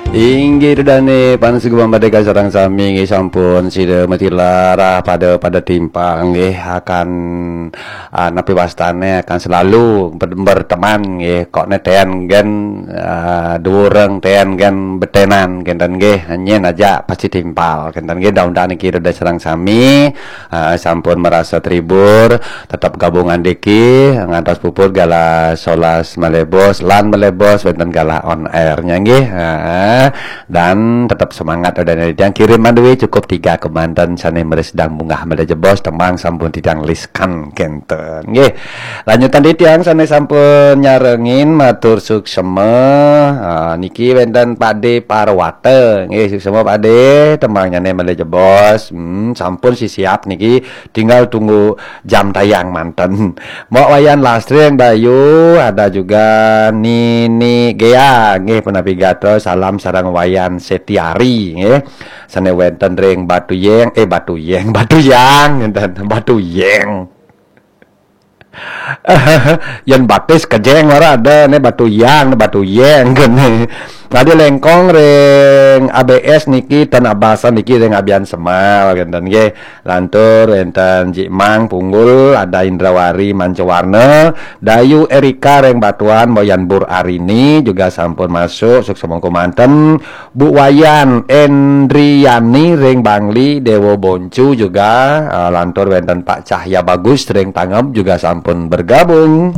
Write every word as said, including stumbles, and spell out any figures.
Inggih, Ida dané pangasuban pada kasareng sami nggih, sampun sida matilar pada pada timpal nggih, akan, ah, napi wastane, akan selalu ber-, berteman nggih. Kok ne ten gen, ah, duwureng ten gen betenan kenten nggih. Nyen aja pasti timpal kenten nggih. Mudah-mudahan niki ida sareng sami, ah, sampun merasa terhibur, tetap gabungan diki ngantos puput galah solas malebos lan malebos wenten galah on air-nya nggih. Ah, dan tetap semangat, Ida dané titiang. Kiriman duit cukup tiga kemanten sane meri sedang munggah malebos, tembang sampun titiang liskan kenten nggih. Lanjutan titiang sane sampun nyarengin matur suksema. Ah, niki wenten Pakde Parwata nggih, suksema Pakde, tembangnyane malebos. Hmm, sampun si siap niki, tinggal tunggu jam tayang manten. Mbok Wayan Lastri ring Dayu, ada juga Nini Gea nggih, punapi gatra, salam sareng Wayan Setiari nggih. Sane wenten ring Batuyeng, eh, Batuyeng, Batuyang ngenten, Batuyeng. Yen batis kejeng ora ada ne Batuyang, ne Batuyeng kene. Tadi lengkong ring A B S niki ten abasan niki ring Abian Semal kenten nggih. Lantur wenten Jik Mang Punggul, ada Indrawari Mancawarna, Dayu Erika ring Batuan, Boyan Bur Arini juga sampun masuk, suksema kemanten, Bu Wayan Endriani ring Bangli, Dewa Boncu juga, ah, lantur wenten Pak Cahya Bagus ring Tangeb juga sampun bergabung.